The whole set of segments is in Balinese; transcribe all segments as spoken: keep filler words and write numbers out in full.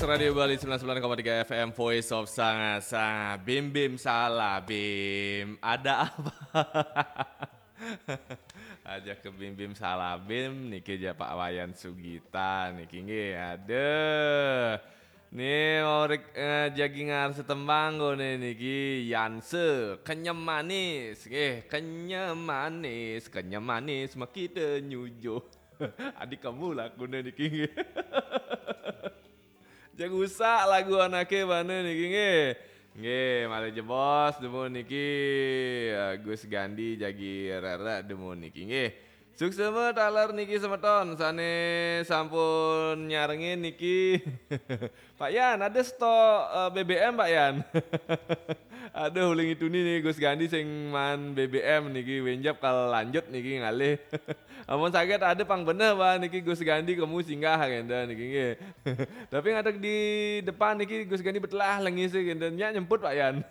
Radio Bali sembilan sembilan koma tiga F M, Voice of Sanga-Sanga. Bim Bim Salabim. Ada apa? Aja ke Bim Bim Salabim niki ja Pak Wayan Sugita niki nggih. Aduh. Nih mau rek, eh, jagi ngarsa tembang kone niki, Yanse, Kenyem Manis nggih, Kenyem Manis, Kenyem Manis makita nyujo. Adik kamu lakune niki nggih. Jagusa lagu anake bana niki nggih. Nggih, malih jebos dumun niki, eh, Gus Gandhi jagi rere dumun niki nggih. Suksema taler niki semeton sane sampun nyarengin niki. Pak Yan, ada stok, eh, B B M, Pak Yan? Aduh, uling itu nih Gus Gandhi sing man B B M niki, wenjap kal lanjut niki ngalih. Amun saged ada pang beneh, Pak, niki Gus Gandhi kemu singgah kenten niki nggih. Tapi ngadeg di depan niki Gus Gandhi betelah lengis kenten. Nyak nyemput, Pak Yan.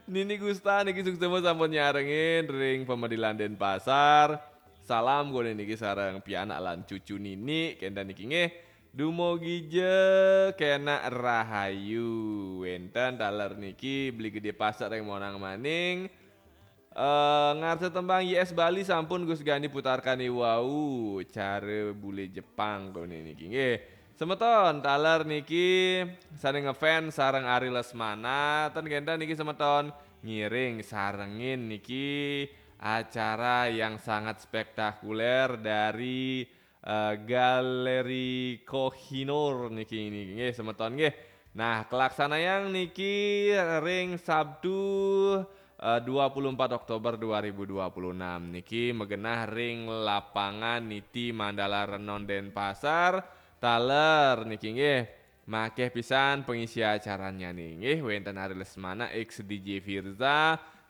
Nini Gusta niki suksema sampun nyarengin ring Pemedilan Denpasar. Salam kone niki sareng pianak lan cucu nini kenten niki nggih. Dumogi ja kenak rahayu. Wenten taler niki Beli Gede Pasek ring Monang Maning. Eh, ngarsa tembang Y S Bali sampun Gus Gandhi putarkan iwau, cara bule Jepang kone niki nggih. Semeton taler niki sane ngefans sareng Ari Lesmana, ten kenten niki semeton ngiring sarengin niki acara yang sangat spektakuler dari, eh, Galeri Kohinoor niki, niki nggih semeton nggih. Nah, kelaksanayang niki ring Sabtu, eh, dua puluh empat Oktober dua ribu dua puluh enam niki magenah ring lapangan Niti Mandala Renon Denpasar. Taler niki nggih makeh pisan pengisi acaranya nih nggih, wenten Ari Lesmana, ex D J Firza,